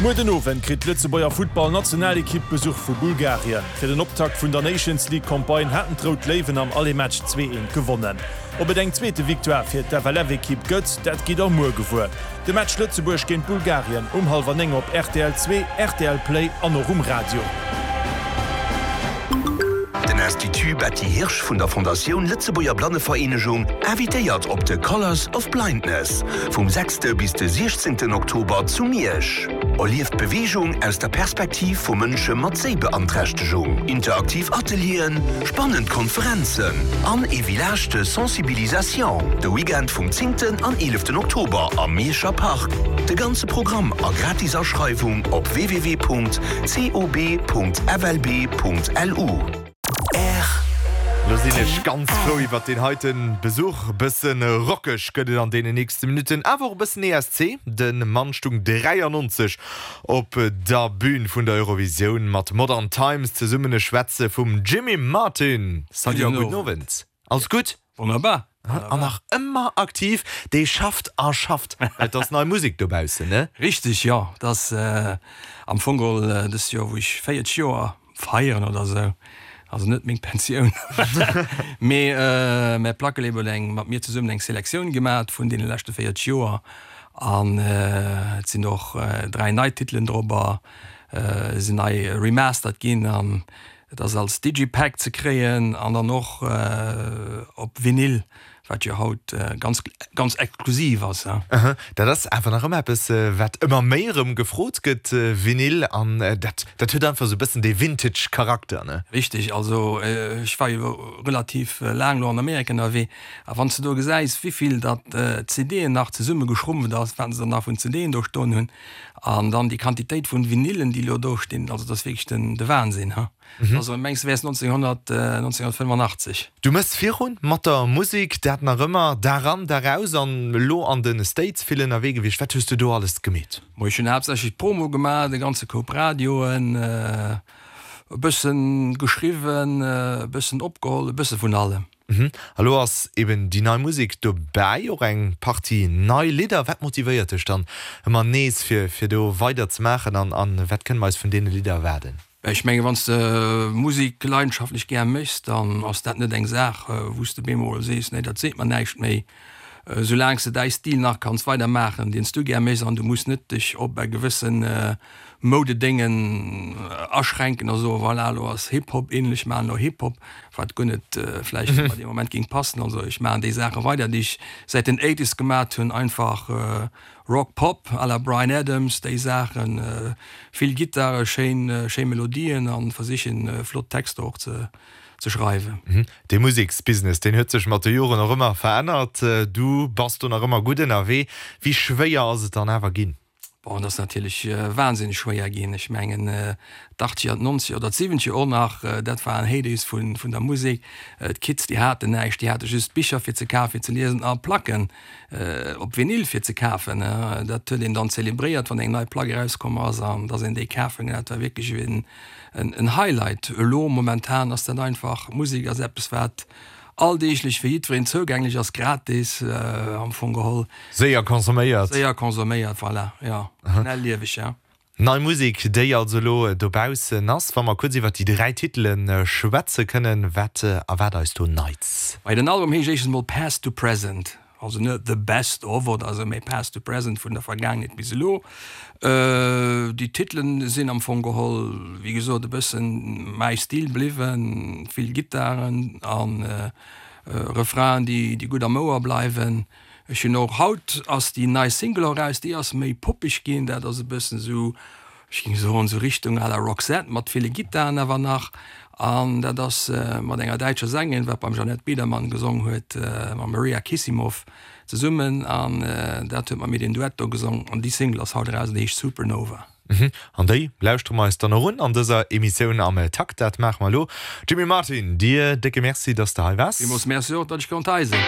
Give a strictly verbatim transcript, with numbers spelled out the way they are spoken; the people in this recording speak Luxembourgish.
Muer den Owend kritt d'Lëtzebuerger Futtball-Nationalekipp Besuch vu Bulgarien. Fir den Optakt vun der Nations League Campagne haten d'Rout Léiwen am Aller-Match zwee eent gewonnen. Ob et eng zweete Victoire fir d'F L F-Ekipp gëtt, dat gitt der muer gewuer. De Match Lëtzebuerg géint Bulgarien um hallwer néng op R T L zwee, R T L Play an och um Radio. Den Institut Betty Hirsch vun der Fondatioun Lëtzebuerger Blannevereenegung invitéiert op de Colors of Blindness vum sechste bis de siechzéngten Oktober zu Miersch. Erlieft Beweegung aus der Perspektiv vu Mënsche mat Séibeanträchtegung. Interaktiv Atelieren, spannend Konferenzen an e Village de Sensibilisation. De Weekend vum zéngten an eeleften Oktober am Mierscher Park. De ganze Programm a gratis Aschreiwung op w w w Punkt C O B Punkt F L B Punkt L U. Lo sinn ech ganz frou iwwer den heiten Besuch. Bëssen rockeg gëtt et an deenen nächste Minutten, awer och e bëssen E S C. De Mann stung dräiannonzeg op der Bühn vun der Eurovisioun mat Modern Times zesummen. Ech schwätze vum Jimmy Martin. Salut a gudden Owend. Alles gutt? Wonnerbar. An nach ëmmer aktiv, dee schafft a schafft. Et ass nei Musek dobaussen, ne? Richteg, jo. Dat ass am Fong geholl dëst Joer, wou ech véierzeg Joer feieren oder sou. Also net meng Pensioun. Mee mäi Plackelabel huet eng mat mir zesummen eng Selektioun gemaach vun deene leschte véierzeg Joer an et sinn och dräi nei Titelen drop, sinn nei remastered ginn an et ass als Digipack ze kréien an dann och op Vinyl, wat jo haut ganz ganz exklusiv ass. Aha, dat ass awer nach ëmmer eppes, wat ëmmer méi erëm gefrot gëtt, Vinyl, an dat dat huet einfach sou e bëssen dee Vintage Charakter, ne? Richteg, also ech war jo relativ laang lo an Amerika ënnerwee a wann s de do gesäis, wéivill datt C D'en nach zesummegeschrumpft ass, wat se nach vun C D'en do stoen hunn an dann déi Quantitéit vun Vinylen, déi lo do stinn, also dat ass wierklech den de Wahnsinn, ha. Also mengs du wäers neunzehnhundert neunzehnhundertfënnefanachtzeg. Du mëss virun mat der Musek, dat nach ëmmer, Dag an Dag aus, an elo an de States vill ënnerwee gewiescht. Wat hues du do alles gemeet? Mo ech hunn haaptsächlech Promo gemaach, de ganze Koup Radioen, e bëssen geschriwwen, e bëssen opgeholl, e bësse vun allem. Mhm. A lo ass eben déi nei Musek dobäi, och eng Partie nei Lidder. Wat motivéiert dech dann ëmmer nees fir fir do weider ze maachen an an wat kënne mer eis vun deene Lidder erwaarden? Ech menge wann s de Musek leidenschaftlech gär méchs, dann ass dat net eng Saach, wou s de bemol sees, nee dat seet mer näischt méi. Soulaang s de däi Stil nach kanns weidermaachen, deen s du gär méchs an du muss net dech op e gewëssen Moudedéngen aschränken a soen, voilà lo ass Hip-Hop in, ech maachen lo Hip-Hop, wat guer net vläicht bei deem Moment géing passen. Also ech maachen déi Saache weider, déi ech säit den Eighties gemat hunn, einfach Rock Pop à la Bryan Adams, déi Saachen, vill Gittare, schéin schéi Melodien an versichen flott Texter och ze ze schreiwen. De Museksbusiness, deen huet sech mat de Joren och ëmmer verännert. Du bass do nach ëmmer gutt ënnerwee. Wéi schwéier ass et dann awer ginn? Bon, dat ass natierlech wahnsinneg schwéier ginn. Ech mengen d'Achtzeger, d'Nonzeger oder d'Siwwenzeger och nach, dat waren Heydays vun vun der Musek. D'Kids déi haten näischt, déi hate just Bicher fir ze kafen, fir ze liesen a Placken op Vinyl fir ze kafen. Dat huet een dann zelebréiert, wann eng nei Plack erauskomm ass an dass een déi kafen. Dat war wierklech en en Highlight. Elo momentan ass dat einfach, Musek ass eppes wat alldeeglech fir jiddwereen zougänglech ass, gratis am Fong geholl. Séier konsuméiert. Séier konsuméiert, voilà, jo. Schnellieweg, ja. Nei Musek, déi also elo dobaussen ass. Wa mer kuerz iwwer déi dräi Titele schwätze kënnen, wat erwaart eis do Neits? Bei den Album heescht éischtens mol Past to Present, also net The Best of oder sou, mee Past to Present, vun der Vergaangenheet bis elo. Déi Titelen sinn am Fong geholl, wéi gesot, e bëssen mäi Stil bliwwen, vill Gittaren an Refrainen, déi déi gutt am Ouer bleiwen. Ech hunn och haut ass déi nei Single eraus, déi ass méi poppeg ginn, dat ass e bëssen sou, ech géing soen, sou Richtung à la Roxette mat ville Gittaren awer nach. An dat ass mat enger däitscher Sängerin, wat beim Jeanette Biedermann gesong huet, mam Maria Kissimoff zesummen an dat huet mat mir den Duett do gesong an déi Single ass haut eraus an déi heescht Supernova. An déi lauschtere mer eis dann och un an dëser Emissioun am Takt. Dat maache mer elo. Jimmy Martin, dir décke Merci, dass de hei waars. Villmools Merci och, datt ech konnt hei sinn.